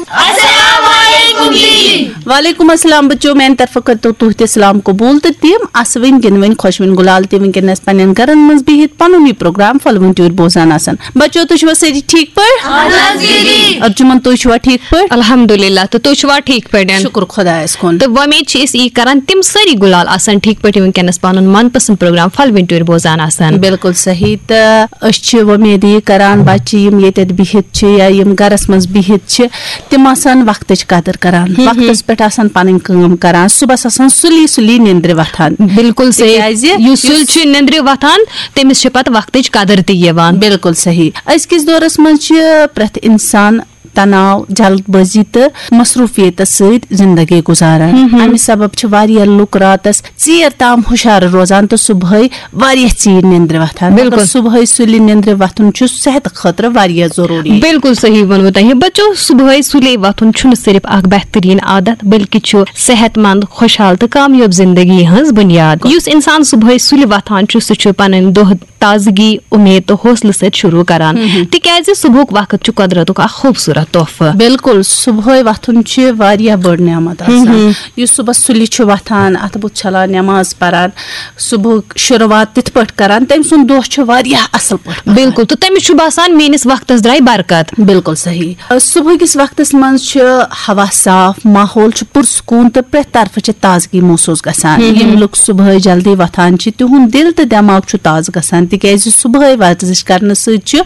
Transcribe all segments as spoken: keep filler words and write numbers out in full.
السلام علیکم جی۔ وعلیکم السلام بچو، میانہِ طرفہٕ کٔرتو تُہۍ تہِ سلام قبول تہٕ تِم اسہٕ وٕنۍ گِنٛدوٕنۍ خۄشوٕنۍ گُلال تہِ وٕنکیٚنس پننٮ۪ن گرن منٛز بِہِتھ پنُن یہِ پروگرام پھلوٕنۍ ٹیوٗرۍ بوزان آسان۔ بچو، تُہۍ چھِوا سٲری ٹھیٖک پٲٹھۍ؟ اہن حظ دیدی۔ ارجُمن، تُہۍ چھِوا ٹھیٖک پٲٹھۍ؟ الحمدللہ، تہٕ تُہۍ چھِوا ٹھیٖک پٲٹھۍ؟ شُکر خۄدایس کُن۔ تہٕ وۄمید چھِ أسۍ یی کران، تِم سٲری گُلال آسن ٹھیٖک پٲٹھۍ وٕنکیٚنس پنُن من پسند پروگرام پھلوٕنۍ ٹیوٗرۍ بوزان آسن۔ بِلکُل صحیح۔ تہٕ أسۍ چھِ وۄمید یی کران، بچہِ یِم ییٚتٮ۪تھ بِہِتھ چھِ یا یِم گرس منٛز بِہِتھ چھِ، تِم آسن وقتٕچ قدٕر کران، وقتس پٮ۪ٹھ آسن پنٕنۍ کٲم کران، صُبحس آسان سُلی سُلی نیندرِ وۄتھان۔ بِلکُل صحیح۔ تِکیازِ یُس سُلہِ چھُ نیندرِ وۄتھان، تٔمِس چھِ پتہٕ وقتٕچ قدٕر تہِ یِوان۔ بِلکُل صحیح۔ أزکِس دورس منٛز چھِ پرٛٮ۪تھ انسان تناو، جلد بٲزی تہٕ مصروفیتس سۭتۍ زندگی گُزاران۔ امہِ سبب چھِ واریاہ لُکھ راتس ژیر تام ہُشار روزان تہٕ صبحٲے واریاہ ژیٖرۍ نیندرِ وۄتھان۔ مگر بِلکُل۔ صبحٲے سُلہِ نیندرِ وۄتھُن چھُ صحتہٕ خٲطرٕ واریاہ ضروٗری۔ بِلکُل صحیح ووٚنوٕ تۄہہِ۔ بچو، صبحٲے سُلے وۄتھُن چھُنہٕ صرف اکھ بہترین عادت، بلکہِ چھُ صحت مند، خۄشحال تہٕ کامیاب زندگی ہٕنٛز بُنیاد۔ یُس انسان صبحٲے سُلہِ وۄتھان چھُ، سُہ چھُ پنٕنۍ دۄہ تازگی، امید تہٕ حوصلہٕ سۭتۍ شروع کران، تِکیازِ صبحُک وقت چھُ قۄدرتُک اکھ خوٗبصوٗرت تحفہٕ۔ بِلکُل، صبحٲے وۄتھُن چھِ واریاہ بٔڑ نعمت آسان۔ یُس صُبحس سُلہِ چھُ وۄتھان، اَتھٕ بُتھ چھلان، نٮ۪ماز پران، صُبحُک شروٗعات تِتھ پٲٹھۍ کران، تٔمۍ سُنٛد دۄہ چھُ واریاہ اَصٕل پٲٹھۍ پَکان۔ بِلکُل، تہٕ تٔمِس چھُ باسان، میٲنِس وقتس درٛاے برکت۔ بِلکُل صحیح۔ صُبحٕکِس وقتس منٛز چھُ ہوا صاف، ماحول چھُ پُرسکوٗن تہٕ پرٛٮ۪تھ طرفہٕ چھِ تازگی محسوٗس گژھان۔ یِم لُکھ صُبحٲے جلدی وۄتھان چھِ، تِہُنٛد دِل تہٕ دٮ۪ماغ چھُ تازٕ گژھان، تِکیازِ صُبحٲے ورزش کرنہٕ سۭتۍ چھُ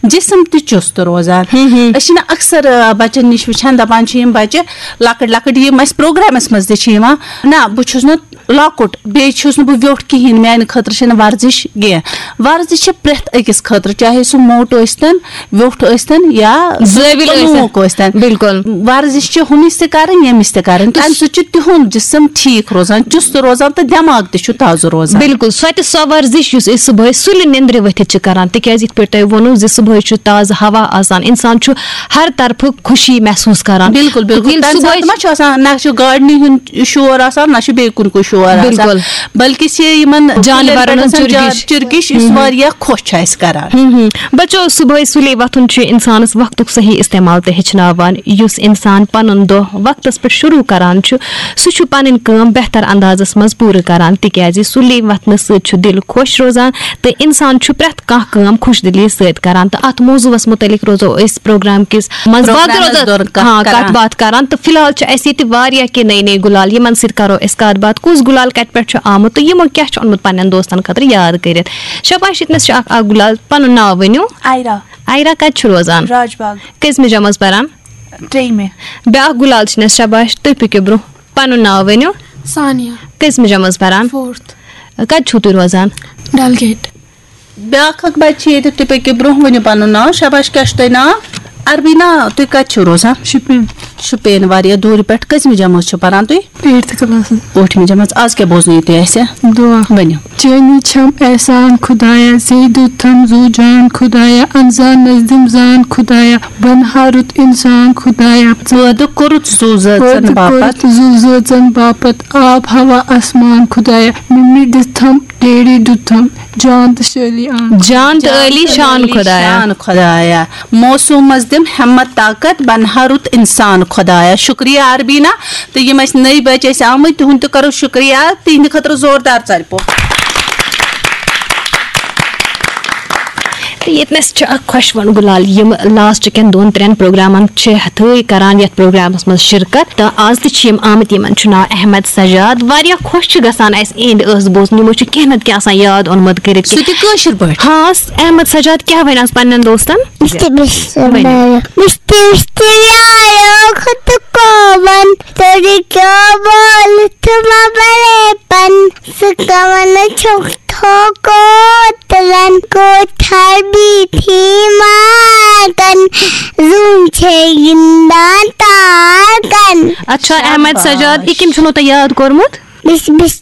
جسم تہِ چُست روزان۔ أسۍ چھِنہٕ اکثر، آ، بچن نِش وٕچھان، دپان چھِ یِم بچہِ لۄکٕٹۍ لۄکٕٹۍ، یِم اَسہِ پروگرامس منٛز تہِ چھِ یِوان، نہ، بہٕ چھُس نہٕ لۄکُٹ، بیٚیہِ چھُس نہٕ بہٕ ویوٚٹھ کِہینۍ، میانہِ خٲطرٕ چھنہٕ ورزش کینٛہہ۔ ورزش چھِ پرٛٮ۪تھ أکِس خٲطرٕ، چاہے سُہ موٹ ٲسۍتن، ویوٚٹھ ٲسۍتن یا زٲوِل ٲسِن۔ لوٗکھ ٲسۍتن۔ بِلکُل۔ ورزش چھِ ہُمِس تہِ کرٕنۍ، ییٚمِس تہِ کرٕنۍ، تمہِ سۭتۍ چھُ تِہُنٛد جسم ٹھیٖک روزان، چُست روزان تہٕ دٮ۪ماغ تہِ چھُ تازٕ روزان۔ بِلکُل، سۄ تہِ سۄ ورزش یُس أسۍ صُبحٲے سُلہِ نیندرِ ؤتھِتھ چھِ کران، تِکیازِ یِتھ پٲٹھۍ تۄہہِ ووٚنوٕ زِ صُبحٲے چھُ تازٕ ہوا آسان، انسان چھُ ہر طرفہٕ خوشی محسوٗس کران۔ بِلکُل، بِلکُل۔ ییٚلہِ تَمہِ صُبحٲے ساتہٕ ما چھُ آسان، نہ چھُ گاڈنہِ ہُنٛد شور آسان، نہ چھُ بیٚیہِ کُنہِ کُنہِ شور آسان، بِلکُل۔ بلکہِ چھِ یِمن جانورن کُلٮ۪ن پٮ۪ٹھ ہُنٛد آسان چُرگِش۔ جا-، چُرگِش، یُس واریاہ خۄش چھُ اَسہِ کران۔ ہم ہم۔ بچو، صبحٲے سُلے وۄتھُن چھُ انسانس وقتُک صحیح استعمال تہِ ہیٚچھناوان۔ یُس انسان پنُن دۄہ وقتس پٮ۪ٹھ شروع کران چھُ، سُہ چھُ پنٕنۍ کٲم بہتر اندازس منٛز پوٗرٕ کران، تِکیازِ سُلے وۄتھنہٕ سۭتۍ چھُ دِل خۄش روزان تہٕ انسان چھُ پرٛٮ۪تھ کانٛہہ کٲم خۄش دِلی سۭتۍ کران۔ تہٕ اتھ موضوعس متعلق روزو أسۍ پروگرام کِس منٛز باقٕے پروگرامس روزو، دوران کتھ ہاں، کران۔ کتھ باتھ کران۔ تہٕ فی الحال چھِ اسہِ ییٚتہِ واریاہ کینٛہہ نٔے نٔے گُلال، یِمن سۭتۍ کرو أسۍ کتھ باتھ۔ کُس گُلال کتہِ پٮ۪ٹھ چھُ آمُت تہٕ یِمو کیٛاہ چھُ اوٚنمُت پننٮ۪ن دوستن خٲطرٕ یاد کٔرِتھ؟ شاباش، ییٚتنس چھُ اکھ، اکھ گُلال، پنُن ناو ؤنِو۔ آیرا، آیرا کتہِ چھُ روزان؟ راج باغ، کٔژمہِ جمٲژ پران؟ ترٛیٚیِمہِ۔ بیٛاکھ گُلال چھُنس، شاباش، تُہۍ پٔکِو برٛونٛہہ۔ پنُن ناو ؤنِو۔ ثانیہ، کٔژمہِ جمٲژ پران؟ فورتھ، کتہِ چھُو تُہۍ روزان؟ ڈل گیٹ۔ بیٛاکھ اکھ بچہِ چھِ ییٚتہِ، تُہۍ پٔکِو برٛونٛہہ، ؤنِو پنُن ناو۔ شاباش، کیٛاہ چھُ تۄہہِ ناو؟ عربینا، تُہۍ کتہِ چھِو روزان؟ شُپین۔ شُپین، واریاہ دوٗرِ پٮ۪ٹھ۔ کٔژمہِ جمٲژ چھِو پران تُہۍ؟ Eighth classes. ٲٹھمہِ جمٲژ۔ آز کیٛاہ بوزنٲیِو تُہۍ اَسہِ؟ دعا۔ ؤنِو۔ چٲنی چھم احسان خدایا، زیدُتھم زو جان خدایا، انزانس دِم زان خدایا، بنہا رُت انسان خدایا۔ پٲدٕ کوٚرُتھ زُو زٲژن پٲدٕ باپتھ۔ کوٚرُتھ زُو زٲژن باپتھ، آب ہوا آسمان خدایا، مِمی دِژتھم، ڈیڈی دیُتتھم، جان تہٕ شٲلی آن۔ جان تہٕ عٲلی شان خدایا۔ شان خدایا۔ موسومس دِم ہمت طاقت، بنہا رُت انسان خدایا۔ شُکریہ عربینا۔ تہٕ یِم اَسہِ نٔے بچہِ ٲسۍ آمٕتۍ، تِہُنٛد تہِ کرو شُکریہ۔ تِہنٛدِ خٲطرٕ زوردار ژَرِ پوٚپ۔ تہٕ ییٚتنَس چھِ اکھ خۄشوُن گُلال، یِم لاسٹ کٮ۪ن دۄن ترٛٮ۪ن پروگرامن چھِ ہتھٲے کران یتھ پروگرامس منٛز شرکت، تہٕ آز تہِ چھِ یِم آمٕتۍ۔ یِمن چھُ ناو احمد سجاد۔ واریاہ خۄش چھُ گژھان اَسہِ اِہِنٛدۍ ٲس بوزُن، یِمو چھُ کینٛہہ نتہٕ کینٛہہ آسان یاد اوٚنمُت کٔرِتھ۔ سُہ تہِ کٲشِر پٲٹھۍ۔ ہاں، احمد سجاد کیٛاہ وَنہِ آز پننٮ۪ن دوستن؟ مشتی مشتی مشتی مشتی یارو خود کو بن تیری کیا بول تم بڑے پن سکون چھوک تھو کو تلن کو تھر بی تھی ماگن زون چھے گندان تاگن۔ اچھا، احمد سجاد، یہِ کٔمۍ چھُنو تۄہہِ یاد کوٚرمُت؟ بس بس